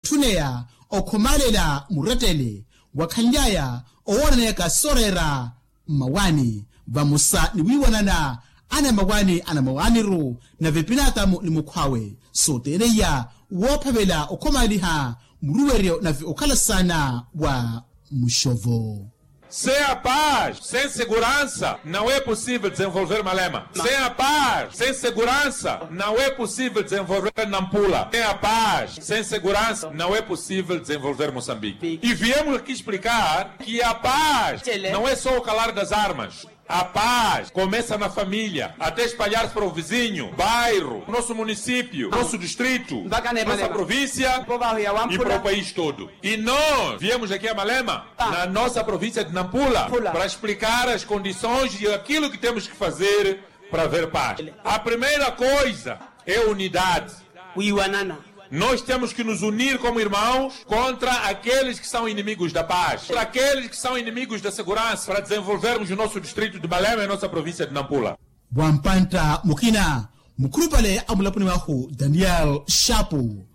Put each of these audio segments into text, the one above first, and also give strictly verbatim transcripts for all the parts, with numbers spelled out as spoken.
wantthuneya okhomaalela murettele wakhanly'aya owoonaneyaka sooreera mmawaani vamosa ni wiiwanana anamawaani anamawaani-ru nave pinaatamu ni mukhw'awe sooteeneiya woophavela okhomaaliha muruweryo nave okhala saana wa muxovo. Sem a paz, sem segurança, não é possível desenvolver Malema. Sem a paz, sem segurança, não é possível desenvolver Nampula. Sem a paz, sem segurança, não é possível desenvolver Moçambique. E viemos aqui explicar que a paz não é só o calar das armas. A paz começa na família, até espalhar-se para o vizinho, bairro, nosso município, nosso distrito, nossa província e para o país todo. E nós viemos aqui a Malema, na nossa província de Nampula, para explicar as condições e aquilo que temos que fazer para haver paz. A primeira coisa é unidade. Nós temos que nos unir como irmãos contra aqueles que são inimigos da paz, contra aqueles que são inimigos da segurança, para desenvolvermos o nosso distrito de Malema e a nossa província de Nampula. Vampantta mukina mukhulupale a mulaponi wahu daniel shapu,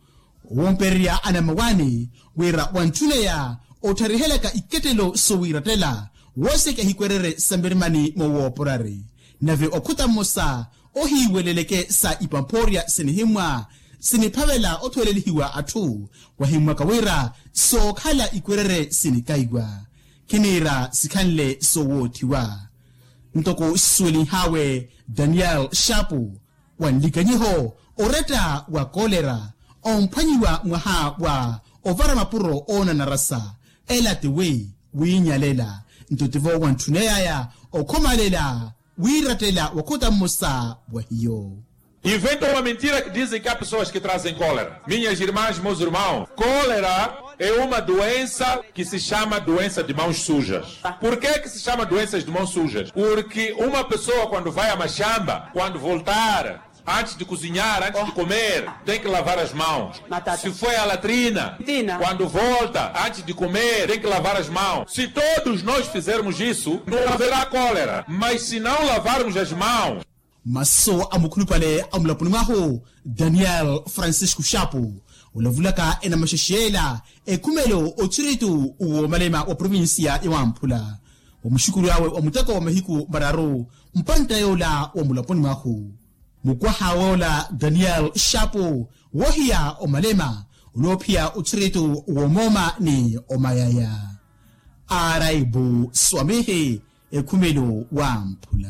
owoompererya anamawaani wira wantthuneya ottharihelaka ikettelo sowiirattela woosekeha ikwerere sa mirimani moowooporari. Nave okhuta mmosa ohiiweleleke sa ipampoorya sinihimmwa siniphavela othwelelihiwa atthu wahimmwaka wira sookhala ikwerere sinikaiwa khiniira sikhanle soowoothiwa. Ntoko sisuwelinhaawe daniel shapu, wa nlikanyiho oretta wa kolera omphwanyiwa mwaha wa ovara mapuro oonanarasa ela tiwi wiinyalela nto tivo wantthuneyaya okhomaalela wiirattela wakhuta mmosa wa hiyo. Inventam uma mentira que dizem que há pessoas que trazem cólera. Minhas irmãs, meus irmãos, cólera é uma doença que se chama doença de mãos sujas. Por que que se chama doenças de mãos sujas? Porque uma pessoa, quando vai a mashamba, quando voltar, antes de cozinhar, antes de comer, tem que lavar as mãos. Se foi à latrina, quando volta, antes de comer, tem que lavar as mãos. Se todos nós fizermos isso, não haverá cólera. Mas se não lavarmos as mãos, maso a mukhulupale a mulaponi mwahu daniel francisco shapu olavulaka enamaxexe ela ekhumelo othiritu woomalema wa provincia ya wamphula wa muxukuru awe wa muteko wa mahiku mararu mpantta yoola wa mulaponi mwahu. Mukwaha woola daniel shapu woohiya omalema oloophiya othiritu woomooma ni omayaya. Araibu swamihi ekhumelo wamphula.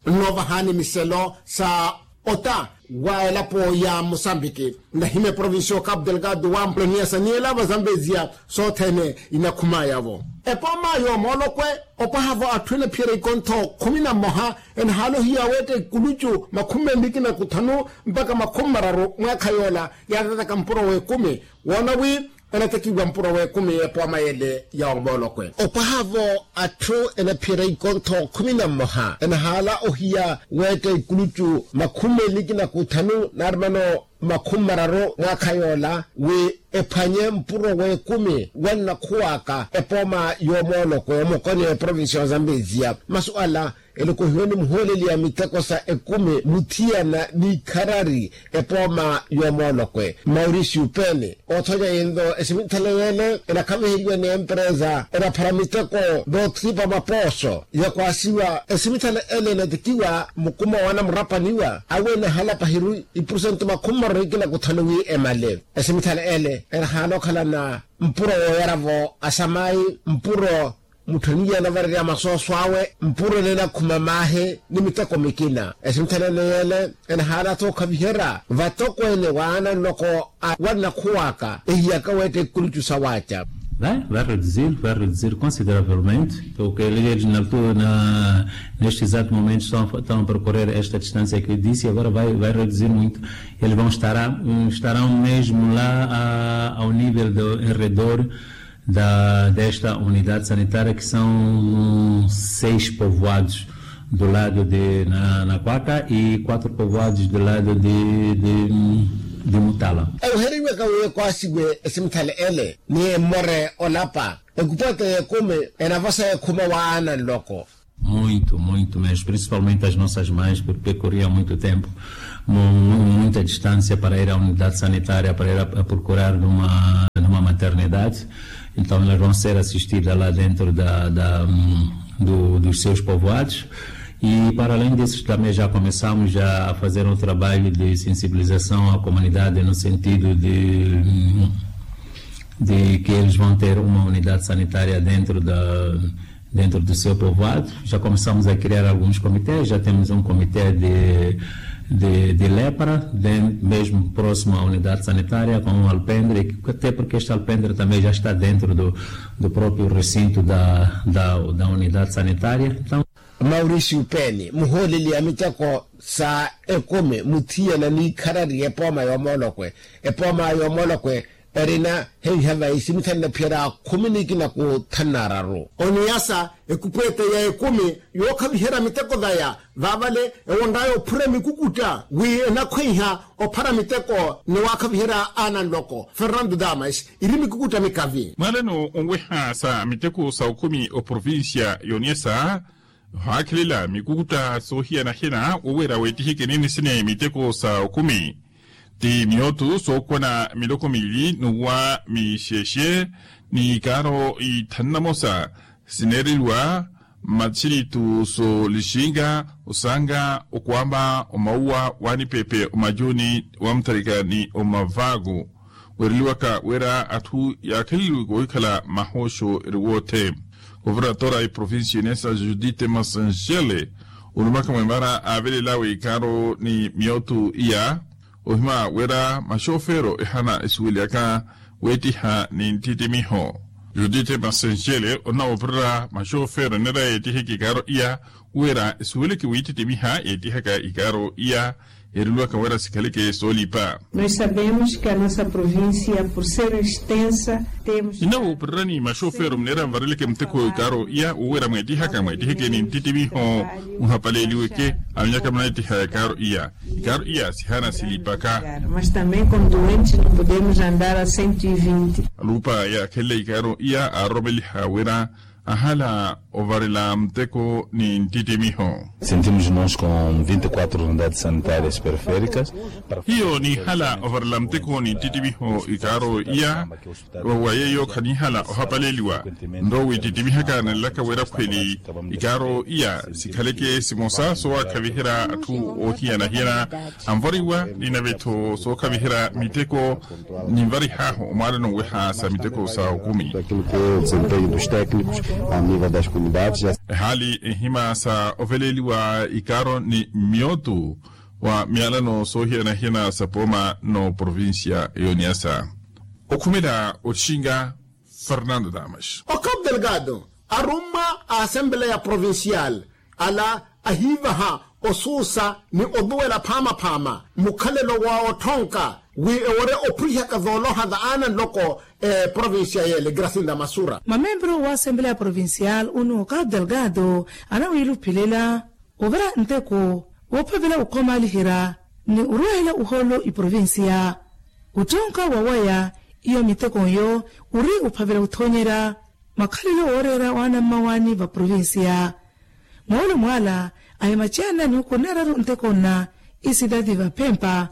Nnoovahani miselo sa ota wa elapo ya mosambiki nahima eprovincia o capu delgado wamphula niyasa niyela vazambezia sothene inakhumaya-vo. Epooma yoomoolokwe opwaha-vo atthu enaphiyerya ikontho khumi na mmoha enahaala ohiya weetta ikulucu makhumi menliki na kuthanu mpakha makhumi mararu mwaakha yoola yaatataka mpuro w'ekumi woona wi enatekiwa mpuro w'ekumi epooma yele ya omoolokwe. Opwaha-vo atthu enaphiyerya ikontho khumi na mmoha enahaala ohiya weetta ikulucu makhumi menliki na kuthanu naari mano makhumi mararu mwaakha yoola wi ephwanye mpuro w'ekumi wannakhuwaka epooma y'omoolokwe omokoni eprovincia wa zambezia masu ala elokohiwe ni muhooleli ya miteko sa ekumi muthiyana n'ikharari epooma y'omoolokwe mauricio pene oothonya yinto esimithala yeele enakhaviheriwa ni emperesa enaphara miteko n'othipa mapooso yakwaasiwa esimithala ele enatekiwa mukuma wa anamurapaniwa awe enahala pahiru ipurusento makhumi mararu ikina kuthanu wi emale esimithala ele enahala okhalana mpuro wooyara-vo asamayi mpuro mutthaniye anavarerya masooso awe mpuro enenakhuma maahi ni miteko mikina esimuthanene yeele enahaana-tho okhaviherya vatokweene waana nloko a wannakhuwaka ehiyaka weetta ikulucu sawaaca. Vai reduzir vai reduzir consideravelmente porque eles na altura neste exato momento estão a percorrer esta distância que disse agora vai reduzir muito eles vão estarão mesmo lá ao nível do em redor da desta unidade sanitária que são seis povoados do lado de nakwaka e quatro povoados do lado de mutala. Euheriweka wi ekwaasiwe esimithale ele ni emmore olapa ekupwete y'ekumi enavosa ekhuma waana nloko. Muito muito mesmo principalmente as nossas mães porque corriam muito tempo muita distância para ir à unidade sanitária para ir a procurar uma Então elas vão ser assistidas lá dentro da, da, hum, do, dos seus povoados. E para além disso também já começamos já a fazer um trabalho de sensibilização à comunidade no sentido de, hum, de que eles vão ter uma unidade sanitária dentro da, dentro do seu povoado. Já começamos a criar alguns comitês, já temos um comitê de, de, de lepra, de, mesmo próximo à unidade sanitária, com um alpendre, até porque este alpendre também já está dentro do, do próprio recinto da, da, da unidade sanitária. Então, Mauricio Peni, muhooleli a miteko sa ekumi muthiyana n'ikharari epooma y'omoolokwe, epooma y'omoolokwe erina henhya vaisi mithanna phiyara khumi n'ikina ku thanna araru. Oniyasa ekupu ete ya ekumi yookhaviherya miteko vaya, vaavale ewonraya ophura mikukutta wi enakhweiha ophara miteko ni waakhaviherya aana nloko fernando damas iri mikukutta mikavi. Mwaalano onweha sa miteko sa okumi oprovincia y'oniyasa, ohaakhelela mikukutta soohiyana-hiyana woweera weetiheke nini sini miteko sa okumi. Ti miyottu sookwana miloko miili n'uwa mixexe ni ikaaro ithanu na mosa sineereliwa mmaxiritu soolixinga, osaanga, okwamba, omauwa, waanipepe, omajuni, wamutharika ni omavaaku. Weereliwaka wira atthu yaakheleliwe koohikhala mahooxo eri woothe. Governadora a iprovincia inesa judite masanxele olumaka mwemara aavelelawe ikaaro ni miyottu iya, ohima wira maxofero ehana esuweliyaka weetiha ni nttittimiho. Judite masanxele onnawoopirira maxofero eneera yeetiheke ikaaro iya, wira esuweleke wiittittimiha yeetihaka ikaaro iya, ereliwaka wira sikhaleke soolipa. Nós sabemos que a nossa província por ser extensa temos. Ninawoopirirani maxofero muneera nvareleke muteko ikaaro iya woweera mweetihaka mweetiheke ni nttittimiho, muhapaleeliweke. Avinyaka munaettiha ikaaro iya, ikaaro iya sihana silipaka. Mas também com doentes não podemos andar a cento e vinte. Alupa yaakhelela ikaaro iya aaroromeliha wira ahala ovarela muteko ni nttittimiho. Sentimos nos com vinte e quatro unidades sanitárias periféricas. Hiyo nihala ovarela muteko ni nttittimiho ikaaro iya wa yeeyo khanihala ohapaleliwa. Nto wiitittimihaka nanlaka wira khweli ikaaro iya sikhaleke simosa sowaakhaviherya atthu oohiyana-hiyana anvariwa ni nave-tho sookhaviherya miteko. Ninvarih'ahu omwaalano nweha sa miteko sa okumi. Ehaali ehima sa oveleliwa ikaaro ni miyottu wa miyalano soohiyana-hiyana sa pooma n'oprovincia y'oniyasa. Okhumela otixinga fernando damas. Ocabo delgado arummwa a asembleya provincial ala ahiivaha osuusa ni oduwela phaama-phaama mukhalelo wa otthonka wi ewore ophulihaka zooloha za aana nloko. Eprovincia yeele gracinda masura mamembro wa asembleya provincial unu ocabo delgado anawiluphelela ovira nteko woophavela okhomaaliherya ni orwahela ohoolo iprovincia. Otthonka wawaya iyo miteko nyo ori ophavela othoonyerya makhalelo wooreera waana mmawaani va provincia. Moolo mwaala ahimaceana ni okhuneraru nteko nna isidadi vaphempa.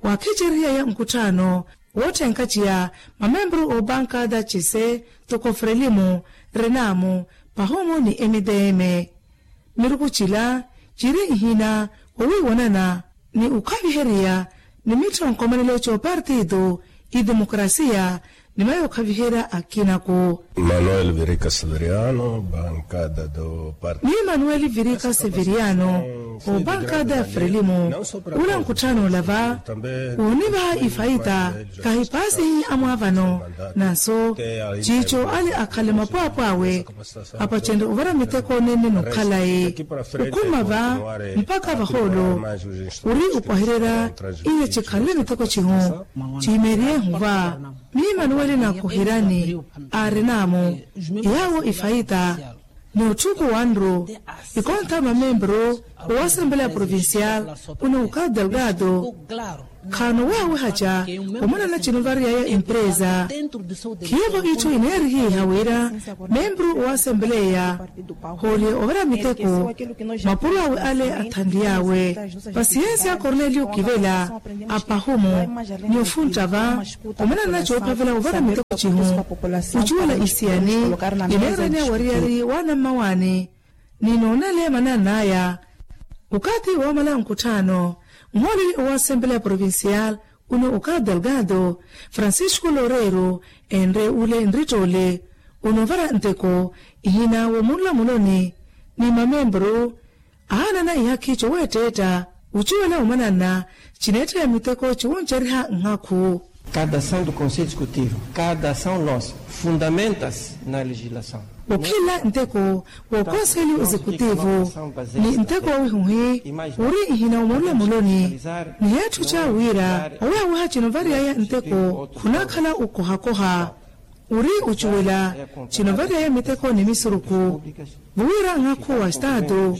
Waakhicerihiyaya nkutthaano wootthenkha ciya mamembro oobanka da cise toko frelimu, renamu, pahomo ni emideme. Miruku cila ciri ihina wowiiwanana ni okhaviheriya ni mitthonkomanelo c'opartido idemokrasia ni mayo okhaviherya akinaku. Manuel virika severiano bankada do parti. Ni manuel virika severiano obankada ya frelimo ula nkutthaano olava woonivaha ifaita kahipaasihi amwaavano. Nanso ciico ale akhale mapwaapwaawe apacenrye ovara miteko nene nokhalayi okhuma va mpakha vahoolo ori opwahererya iye cikhanle miteko cihu. Ciimeeriye ehuva miimanuweli nakoherani aarinamu yaawo ifaita. Ni otthuku wanru ikontha mamembro owasembola ya provincial uni ocabo delgado Khaano weha wehaca omwana na cino variyaya empresa. Khiivo itthu ineerihiha wira membru wa asempeleya hoole ovara miteko mapuro awe ale athanliy'awe. Pasiyensi a korneliyo kivela apahumu ni ofuntta va omwana na coophavela ovara miteko cihu ocuwela isiyani ineeraniya wariyari wa anammawaani. Ni noonele manan'aya okathi woomala nkutthaano nhooleli owa asempeleya provincial uno oka delgado francisco loreiro enre ule nrittoole onoovara nteko ihina woomunlamuloni ni mamembru aanana ihakhi coweetteetta ocuwela omananna cineetteya miteko ciwuncerya nhakhu. Kada ação do conselho executivo kada ação nossa fundamenta-se na legislação. Okhila nteko wa okonselho executivo ni nteko wa wihuhi uri ihina omulamuloni ni heetthu ca wira owehaweha cino variyaya nteko khunakhala okohakoha uri ocuwela cino variyaya miteko ni misuruku. Vuwira nhakhu wa estado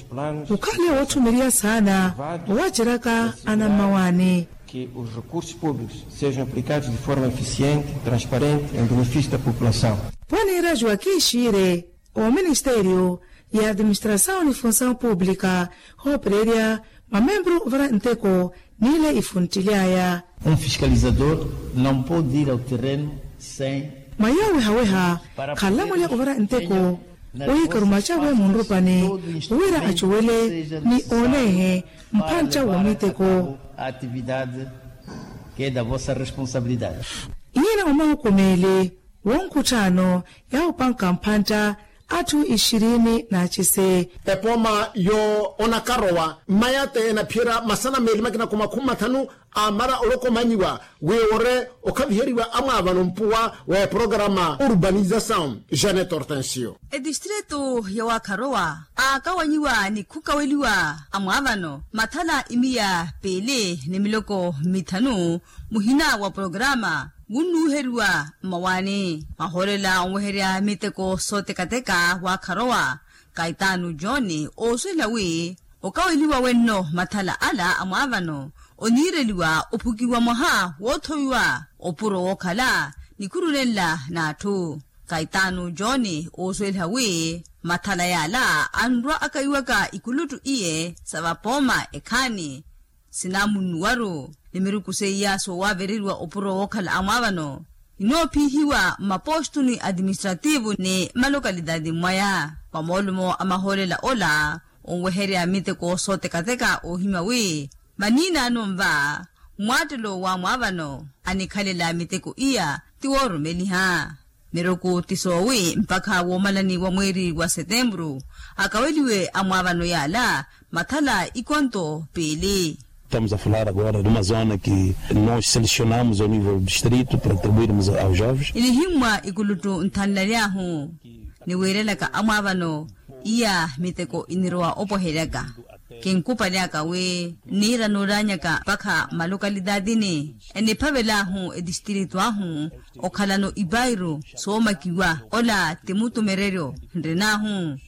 okhale woothumiriya saana owaceraka anammawaani. Que os recursos públicos sejam aplicados de forma eficiente transparente em benefício da população. Pwanira joaquim shire oministerio ya administrasaw ni funsaw publika hoopererya mamembru vara nteko nile ifunttily'aya. Um fiscalizador não pode ir ao terreno sem mwayawe haweha khalamulya ovara nteko oyikaruma cawe munrupani wira acuwele ni oonehe mphantta wa miteko. Atividade que da vossa responsabilidade. Iyina omahukumeele wonkutthaano yaahupanka mphantta atthu ixirini n'acise. Epooma yo onakarowa mmayate enaphiyerya masana meeli makina khumakhumi mathanu amara olokomanyiwa wi ore okhaviheriwa amwaavano mpuwa wa eprogarama urbanizasaw. Janet hortensio. Etistritu ya wakharowa aakawanyiwa ni khukaweliwa amwaavano mathala imiya peeli ni miloko mithanu muhina wa programa wunnuuheriwa mmawaani mahoolela onweherya miteko sootekateka waakharowa kaitaanu john ooswela wi okaweliwa wenno mathala ala a mwaavano oniireliwa ophukiwa mwaha woothowiwa opuro wookhala nikhurulenla n'atthu. Kaitaanu john ooswela wi mathala yaala anrwa akayiwaka ikuluttu iye sa vapooma ekhaani sinamunnuwaru ni miruku seiya soowaavereriwa opuro wookhala a mwaavano ninoophiihiwa mmapostu ni atiministrativu ni malokalitaati mwaya. Vamoolumo a mahoolela ola onweherya miteko sootekateka oohimya wi vaniinaano nva mwaattelo wa mwaavano anikhalela miteko iya ti woorumeliha. Miruku ti soowi mpakha woomalani wa mweeri wa setempuru akaweliwe amwaavano yaala mathala ikonto piili. Estamos a falar agora de uma zona que nós selecionamos ao nível do distrito para atribuirmos aos jovens. Inihimmwa ikuluttu nthanlaly'ahu ni wiirelaka amwaavano iya miteko inirowa opweheryaka. Kinkupaly'aka wi nniira noolaanyaka mpakha mmalokalitatini eniphavel'ahu etistritu ahu okhalano ipairu soomakiwa ola ti mutumereryo nrin'ahu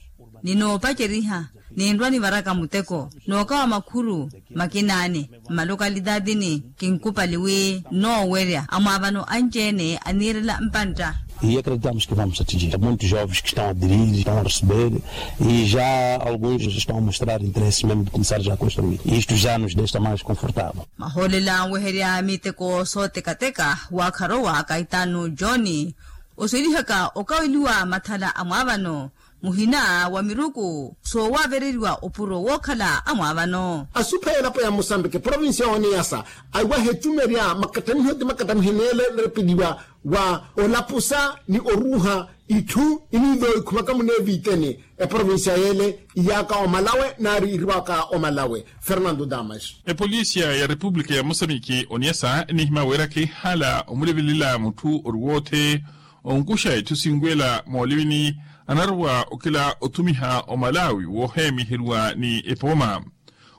ninoopaceriha ninrwa nivaraka muteko nookawa makhuru makinaani mmalokalitatini kinkupali wi nnoowerya amwaavano anci-ene aniirela mpantta. E acreditamos que vamos atingir muitos jovens que estão a aderir estão a receber e já alguns estão a mostrar interesse mesmo de começar já a construir isto já nos deixa mais confortável. Mahoolela anweherya miteko sootekateka waakharowa kaitaanu john oswelihaka okaweliwa mathala a mwaavano muhina wa miruku soowaavereriwa opuro wookhala a mwaavano. Asupha elapo ya mosambiki provincia ya oniyasa aiwaha etumerya makattamiho ti makattamiho neele nerepeliwa wa olapusa ni oruuha itthu iniivo ikhumaka muneeviteni eprovincia yeele iyaaka omalawe naari iriwaka omalawe. Fernando damas. Epolisia ya repupulika ya mosamiki oniyasa enihimya weera kheehala omulevelela mutthu ori woothe onkuxa itthu sinwela moolivini anarowa okila othumiha omalawi woohemiheriwa ni epooma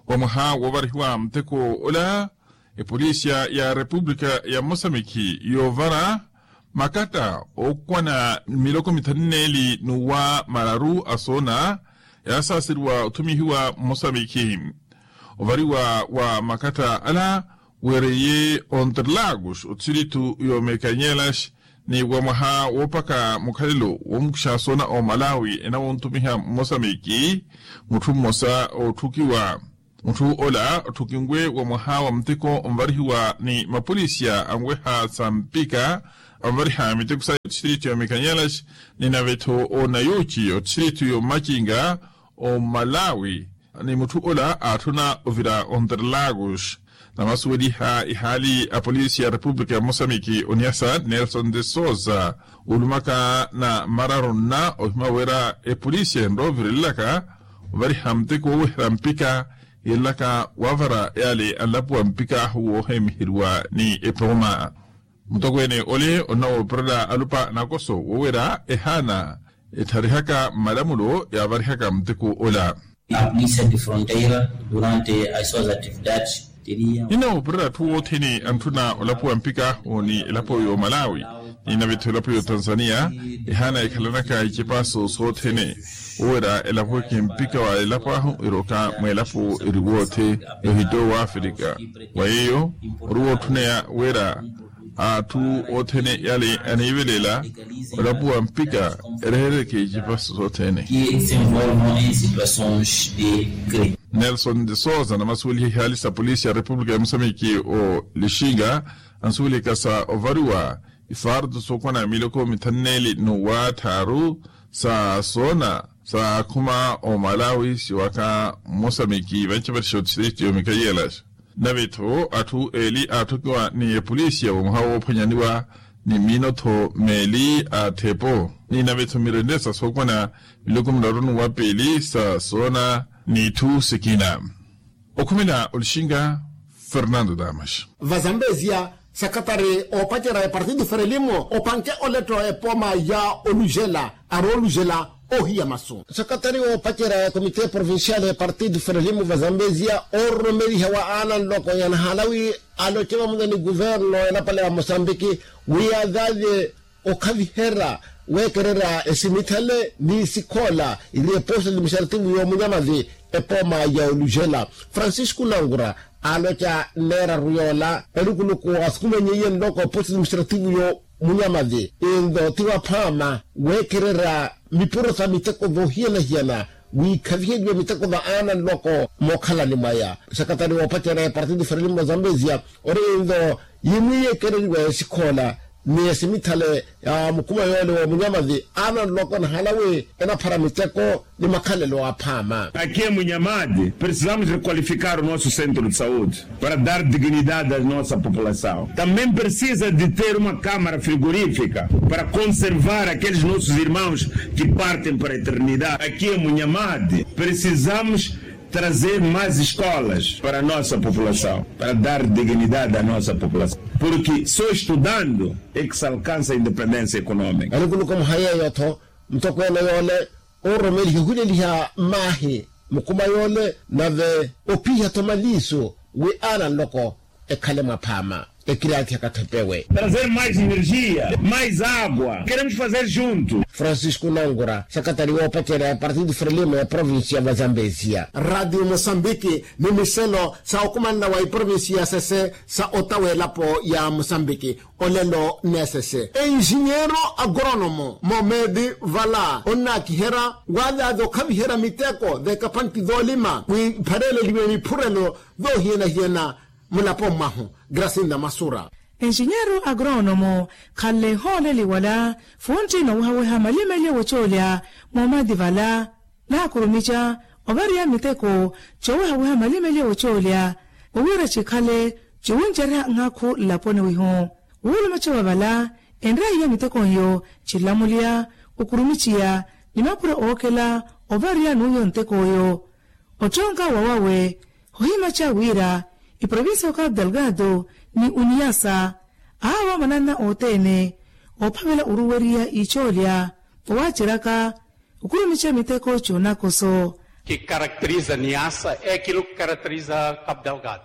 wa mwaha woovarihiwa muteko ola. Epolisia ya repupulika ya mosamiki yoovara makatta ookwana miloko mithanu neeli n'uwa mararu asoona yaasaaseriwa othumihiwa mosamiki. Ovariwa wa makatta ala Weereye onterlagos othiritu y'omekanyelaxi ni wa mwaha woopaka mukhalelo woomukuxa soona omalawi enawontumiha mmosamiki mutthu mmosa ootthukiwa. Mutthu ola otthukinwe wa mwaha wa muteko onvarihiwa ni mapolisiya anweha sa mpika anvariha miteko saye othiritu y'omekanyelaxi ni nave-tho onayuci othiritu y'omacinga omalawi. Ni mutthu ola aatthuna ovira onterlagos namasuweliha ihaali a polisi ya repupulika ya mosamiki oniyasa nelson de sousa, olumaka na mararu nna ohima wira epolisi enrovirelelaka ovariha muteko wooweherya mpika yelaka wavara yale anlapuwa mpika ahu woohemiheriwa ni epooma. Mutokweene ole onnawoopirela alupa nakoso wowera ehaana etharihaka mmalamulo yaavarihaka muteko ola. A polícia de fronteira durante as suas atividades teria ninnawoopirela atthu othene antthuna olapuwa mpika ahu ni elapo y'omalawi ni nave-tho elapo y'otanzania ehaana ekhalanaka icipaso sothene wowera elapuweke mpika wa elapo ahu eroka mweelapo eri woothe yohitto w'afrika. Wa yeeyo ori wootthuneya wira atthu othene yale aniivelela olapuwa mpika erehereke icipaso sothene. Nelson de sousa namasuweliha ihaali sa polisi ya repupulika ya mosamiki olixinga ansuwelihaka sa ovariwa ifartu sookwana miloko mithanu neeli n'uwa tthaaru sa soona saakhuma omalawi siwaka mmosamiki vanci vatixi othiriti omikayelaxa. Nave-tho atthu eeli aatthokiwa ni epolisiya wa mwaha woophwanyaniwa ni miino-tho meeli a tthepo ni nave-tho mirende sa sookwana miloko miraru n'uwa piili sa soona n'itthu sikina. Okhumela olixinga fernando damas. Vazambezia sakatari oopacerya epartido ferelimo opanke oletto epooma ya olujela aroolujela ohiya masu. Sakatari oopacerya ekomite provincial epartido ferelimo vazambezia oororomeliha wa aana nloko ya nahalawi aloce vamuna ni kuverno enapale ya mosambiki wi yaazavye okhaviherya weekererya esimithale ni sikhoola iri eposto administrativo y'omunyamavi epooma ya olujela. Francisco nangura aaloca nneeraru yoola elukuluku asukumanyeiye nloko eposto administrativo y'omunyamavi inlo ti waphaama weekererya mipuro sa miteko voohiyana-hiyana wiikhaviheriwe miteko va aana nloko mookhalani mwaya. Sakatari woopacerya epartido ferelimo zambezia ori inlo yimwiiyekereriwa esikhoola ni esimithale ya mukuma yoole wa munyamathi aana nloko nahalawi enaphara miteko ni makhalelo aphaama. Akiye munyamathi precisamos requalificar o nosso centro de saúde para dar dignidade a nossa população. Também precisa de ter uma câmara frigorífica para conservar aqueles nossos irmãos que partem para a eternidade. Akiye munyamathi precisamos trazer mais escolas para a nossa população para dar dignidade a nossa população porque só estudando é que se alcança a independência econômica. Elukuluku muhayeeyo-tho mutokweene yoole oororomeliha ohuleliha mmaahi mukuma yoole nave ophiha-tho maliiso wi aana nloko ekhale mwaphaama ekirathi akathepewe. Trazer mais energia mais água queremos fazer junto. Francisco nangura sakatari woopacerya epartido ferelimo ya provincia va zambezia. Radio mosambiki ni miselo sa okumanela wa iprovincia ya sese sa ota w'elapo ya mosambiki olelo n'esese enxinheiro agrónomo momedi vala onnaakiherya waazaaza okhaviherya miteko v'ekapanti voolima wi iphareleliwe miphurelo voohiyana-hiyana mulaponi mwahu. Grasinda masura enxinheiro agrónomo khanle hooleliwala funtti noowehaweha malimelye wocoolya moomathi vala naakurumica ovariya miteko coowehaweha malimelye wocoolya owiira cikhale ciwuncereha nhakhu nlaponi wihu. Wuulumeca wa vala enreiya miteko nyo cilamuliya okurumiciya ni mapuro ookela ovariya n'uyo ntek'oyo ottonka wawawe hohimaca wira iprovincia ya cabo delgado ni uniyasa ahawa mananna othene oophavela oruweriya icoolya owaaceraka okurumica miteko coonakoso. Ki caracteriza niasa é kilo ki caracteriza cabo delgado.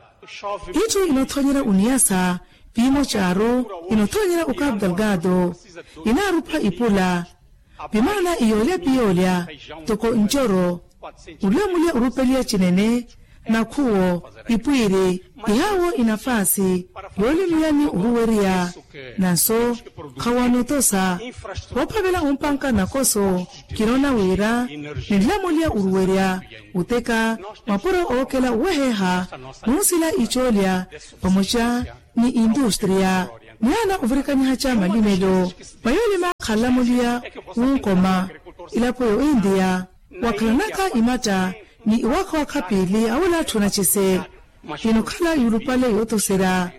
Itthu inothonyera uniyasa piimo caaru inothonyera o cabo delgado inaarupha ipula pimaana iyoolya piyoolya toko ncoro ulamulya orupeliya cinene Nakhuwo ipwiiri ihaawo inafaasi yoolimiya ni oruwerya. Nanso khawanotosa woophavela ompanka nakoso. Kinoona wira ninlamulya oruwerya oteka mapuro ookela oweheeha nunsila icoolya vamoca ni industria. Nihaana ovirikanyiha ca malimelo mayoolima khalamulya wunkoma ilapo yo india. Wakhalanaka imatta ni iwakha wakha piili awula atthu anacese. Inokhala yulupale yootoserya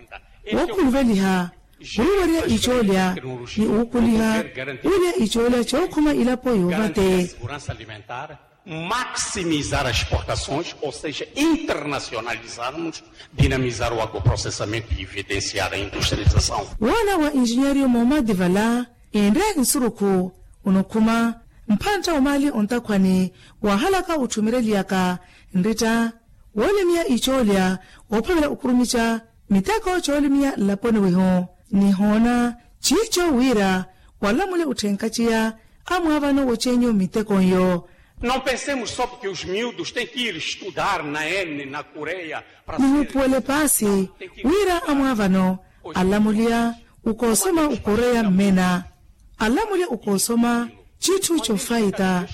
wookhuluveliha oruwerya icoolya ni wuukuliha wulya icoolya cookhuma ilapo yoovate. Maximizar as exportações ou seja internacionalizarmos dinamizar o agroprocessamento e evidenciar a industrialização. Woona wa enjinyeeriyo moomadi vala enre nsurukhu onokhuma mphantta omaali ontakhwani waahalaka otthumereliyaka nritta woolimiya icoolya woophavela okurumica miteko coolimiya nlaponi wihu. Nihoona ciico wira walamule otthenkaciya amwaavano wocenyu miteko nyo. Não pensemos só porque os miúdos têm que ir estudar na ene na coreia. Nihuupuwele paasi wira amwaavano alamuliya okoosoma okoreya mmena alamuliya okoosoma citthu cofayita.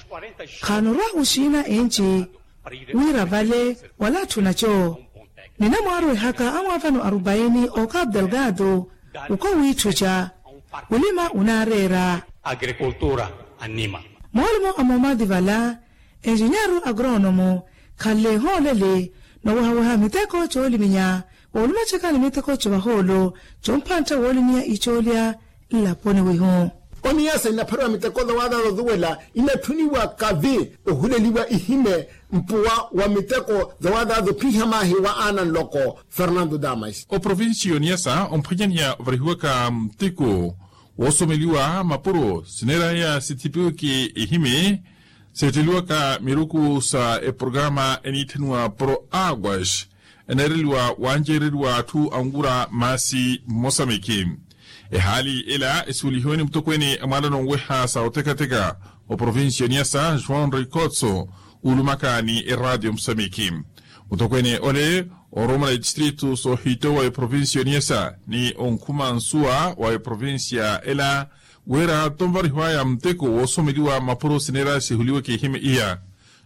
Khanorwa oxiina enci wira vale wala atthu naco. Ninamwaarwehaka amwaavano arubaini okapu delgado okowiitthuca olima onaareera. Agrikultura anima moolumo a moomadi vala enjinyeeru agroonomo khanle ehoolele noowehaweha miteko cooliminya woolumaceka ni miteko covahoolo compantta woolimiya icoolya nlaponi wihu. Oniyasa inaphariwa miteko dawadaada oduwela inatthuniwa kavi ohuleliwa ihime mpuwa wa miteko dawadaada ophiha maahi wa aana nloko. Fernando damas. Oprovincia y'oniyasa omphwanyaniya ovarihiwaka mteko woosomeliwa mapuro sineeraya sithipiweke ihime seetteliwaka miruku sa eprograma eniitthaniwa pro aguas eneereliwa wanceereriwa atthu anwura maasi mmosamiki. Ehaali ela esuwelihiwe ni mutokweene a mwaalano onweha sa otekateka oprovincia oniyasa joão ricotso uulumaka ni eraatio mmosamiki. Mutokweene ole oorumela etistritu soohito wa eprovincia oniyasa ni onkhuma nsuwa wa eprovincia ela wira tonvarihiwaya muteko woosomeliwa mapuro sineera sihuliweke ihime iya.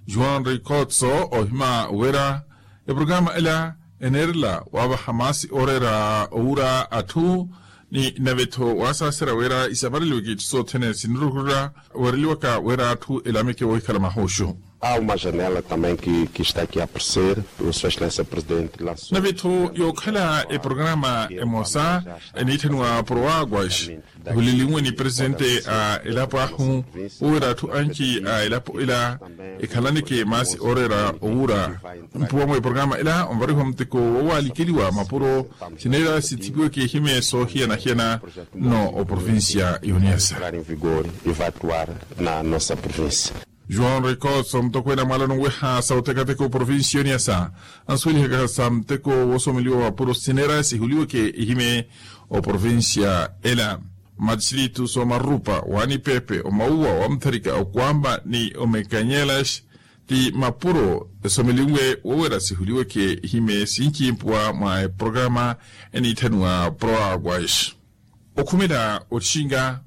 João ricotso ohima wira eprograma ela eneerela waavaha maasi ooreera owura atthu ni nave-tho waasaaserya wira isavareliweke itthu sothene sinirukurela weereliwaka wira atthu elameke woohikhala mahuuxu. Há uma janela também que está aqui a aparecer, o senhor excelência presidente lançou nave-tho yookhala eprograma emosa eniitthaniwa proaguas ehulelinwe ni presidente a elapo ahu wira atthu anci a elapo ela ekhalaneke maasi ooreera owura. Mpuwa mwa eprograma ela onvarihiwa muteko woowalikeliwa mapuro sineera sithipiweke ihime soohiyana-hiyana nno oprovincia y'oniyasa. João ricotso mutokweene a mwaalano onweha sa otekateka oprovincia y'oniyasa ansuwelihaka sa muteko woosomeliwa mapuro sineera sihuliweke ihime oprovincia ela. Matistritu soomarupa wanipepe omauwa wamutharika okwamba ni omekanyelas ti mapuro esomelinwe wowera sihuliweke ihime sinci mpuwa mwa eprograma eniitthaniwa proaguas. Okhumela otxinga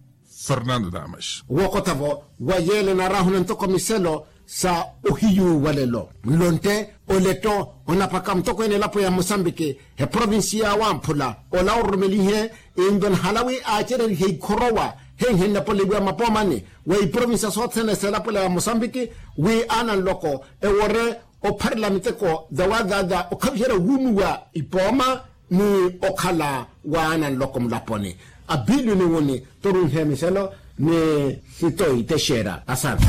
fernando damas. Wookottha-vo wa yeele naarahuna ntoko miselo sa ohiyu walelo nlontte oletto onapaka mutokweene elapo ya musambiki eprovinsi ya wamphula ola ororomelihe. Into nahala wi aacererihe ikhorowa henhennapoliwiwa mapoomani wa iprovinsi sothene seelapola ya musambiki wi aana nloko ewore opharela miteko dawadaada okhaviherya wuunuwa ipooma ni okhala wa aana nloko mulaponi. Abilio ni wuni torunhe miselo ni sitoyi texera asana.